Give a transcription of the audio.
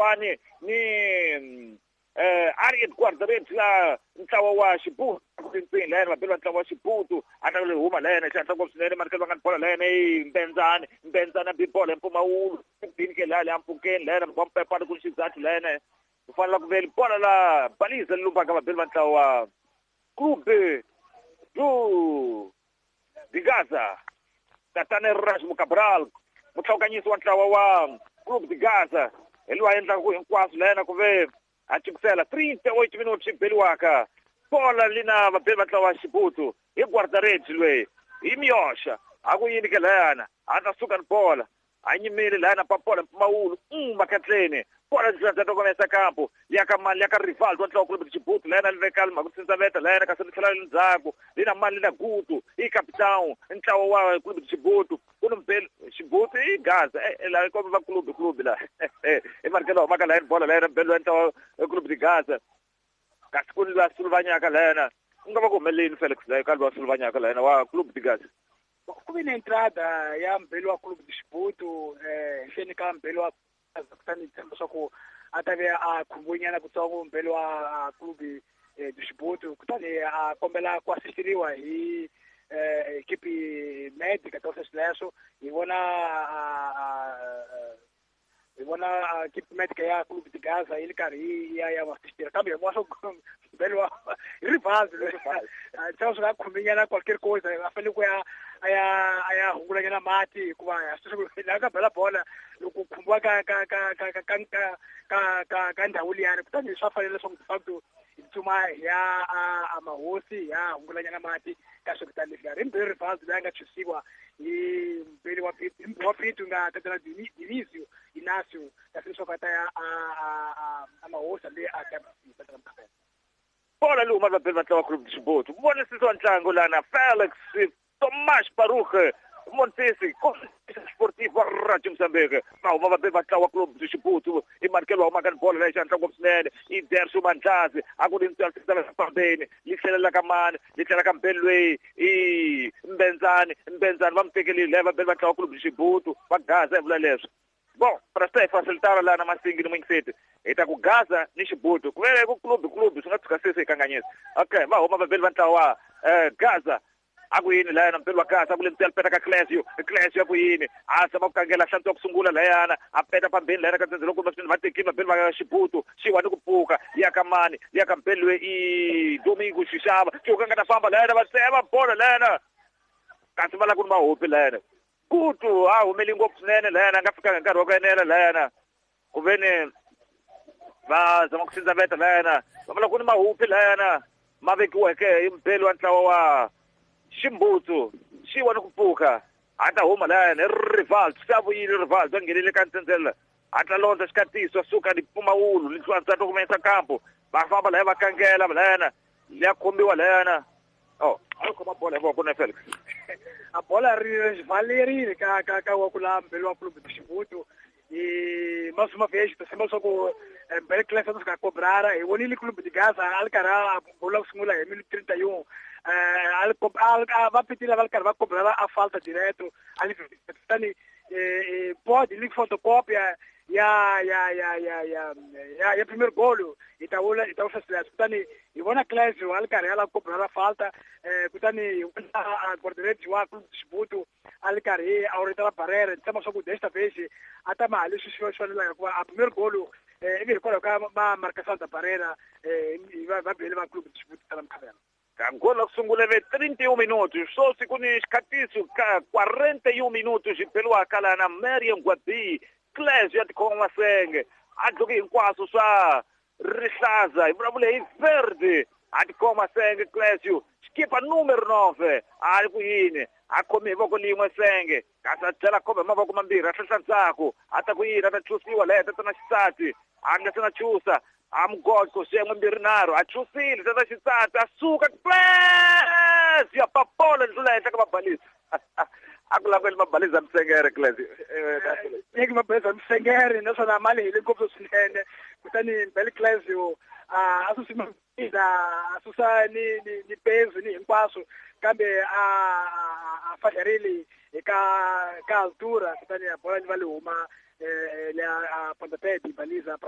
Kwani ni Ariel guarda-redes la ntlawa wa Xibutu rintsini layena vabeli va ntlawa wa Xibutu a ta huma layena xihatla ngopfu swinene manikelo va nga ni bola layena i Mbenzani Mbenzani a bi bola hi mpfumawulo bini ke laya leya mpfukeni layena va mpepani ku ni xizathu layena ku fanela ku veli bola la baliza lumbaka vabeli va ntlawa wa Clube do de Gaza tatana Erasmo Cabral mutlhawukanyisi wa ntlawa wa Clube de Gaza hi loyi a endlaka ku hinkwaswo layena ku ve a cikusela 38 minutos xi beliwaka bola lina vabeli va ntlawa wa Xibutu hi guarda-redes loyi hi miyoxa a ku yini ke layana a ta suka ni bola a nyimile layana pa bola mpfumawulo makatleni bola tokomesa kampo ya ka mali ya ka Rivaldo wa ntlawa Clube de Xibutu layana li veka mhaka ku tsindzaveta layana kasi li tlhela ndzhaku lina mali lina Gutu i capitão ntlawa wa Clube de Xibutu ku ni mbeli Xibutu i Gaza la kombe va clube clube la i marikelo humaka layani bola layana mbeli wa ntlawa Clube de Gaza kasi ku ni lwa suluvanyaka layana ku nga va ku humelelini Felix la ka lwa suluvanyaka layana wa Clube de Gaza. Ku vi na entrada ya mbeli wa Clube de Xibutu henhleni ka mbeli wa Gaza kutani tshemba swa ku a ta ve a khumbunyana kutsongo mbeli wa Clube de Xibutu kutani a kombela ku asistiriwa hi equipe médica ta sweswo hi vona equipe médica ya Clube de Gaza yi ri karhi ya va assistira kambe hi vona swa mbeli wa Rivaldo tshemba swi nga khumbinyana qualquer coisa a fanele ku ya a ya hungulanyana mati hikuva laha ka bela bola loko khumbiwa ka ka ka ka ka ka ka ka ka ndhawu liyani kutani swa fanele leswaku de facto hi tsutsuma hi ya a mahosi hi ya hungulanyana mati ka swikutani leswiya ri mbeli Rivaldo loyi a nga chusiwa hi mbeli wa wa Pitu nga tatana Dinisio Inacio kasi leswaku a ta ya a mahosi leyi a ta tatana bola leyi huma vabeli va ntlawa Clube de Xibutu vonisisi wa ntlangu lana Felix Tomás Baruch Montesi Sportivo wa Radio Mozambique va huma vabeli va ntlawa Clube de Xibutu i manikelo wa humaka ni bola leyi xihatla ngopfu swinene i Derso Mandlazi a ku ri ntswala li tlhelela ka mani li tlhela ka mbeli loyi i Mbenzani Mbenzani va mu tekelile laya vabeli va ntlawa Clube de Xibutu va Gaza hi vula leswo. Bom, para swi ta hi facilitara laha na Masingi ni Mwingiseti hi ta ku Gaza ni Xibutu ku vele ku clube clube swi nga tshuka se se hi kanganyisa. Okay, va huma vabeli va ntlawa wa Gaza a ku yini layana mbeli wa Gaza ku le ntsena peta ka Clesio Clesio a ku yini a zama ku kangela hlantswa ku sungula layana a peta pambeni layana ka ntsendze loko va tekile vabeli va Xibutu xiwa ni ku pfuka ya ka mani ya ka mbeli loyi i Domingo Xixava xiwa nga ta famba layana va tsema bola layana kasi va lava ku ni mahopi layana Kutu a humeli ngopfu swinene layana a nga fikanga nkarhi wa ku enela layana ku ve ni va zama ku sindzaveta layana va vula ku ni mahupi layana ma vekiweke hi mbeli wa ntlawa wa Ximbutsu xiwa ni ku pfuka a ta huma layana hi Rivaldo se a vuyile Rivaldo a nghenile ka ntsendzela a ta londza xikatiso a suka ni mpfumawulo ni twa kumesa kampo va famba laya va kangela layana ya khombiwa layana oh a yi khoma bola hi voko na Felix a bola ri valerile ka ka ka wa ku la mbeli wa Clube de Xibutu e mais uma vez tshemba leswaku mbele Clesa a fika cobrara hi vonile Clube de Gaza a ri karhi a gola ku sungula hi minuto 31 va pitile va ri karhi va cobrara a falta direto ali kutani pode li fotocópia ya ya ya ya ya ya ya primeiro golo hi ta vula hi ta vula sweswo kutani hi vona Clesio a ri karhi a lava ku cobrara falta kutani hi vona guarda-redes wa Clube de Xibutu a ri karhi a oritela barreira ni tshemba swa ku desta vez a ta ma leswi swi fanelaka hikuva a primeiro golo ivi hikwalaho ka ma marcação da barreira va bele va Clube de Xibutu tala mukhavela. Gol ku sungula ve 31 minutos swoswi ku ni xikhatiso ka 41 minutos xi beliwaka laha na Mariam Gwabi Clesio ya tikhoma masenge a dluki hinkwaswo swa rihlaza hi vulavule hi verde a tikhoma masenge Clesio xikipa numero 9 a ri ku yini a khomi hi voko lin'we senge kasi a tlhela a khoma hi mavoko mambirhi a hlahla ndzhaku a ta ku yini a ta chusiwa laya tatana xisati a nga se na chusa a mugoqo xiyenge mbirhi nharhu a chusile tata xisati a suka Clesio a papola ndlula henhla ka mabalisa a ku laveli mabalisa misengere Clesio nyeki mabalisa misengere naswona mali hi le ngopfu swinene kutani mbele Clesio a susima a susa ni ni ni peso ni hinkwaswo kambe a fadlerile eka ka altura kutani bola li va li huma le a pontapé de baliza.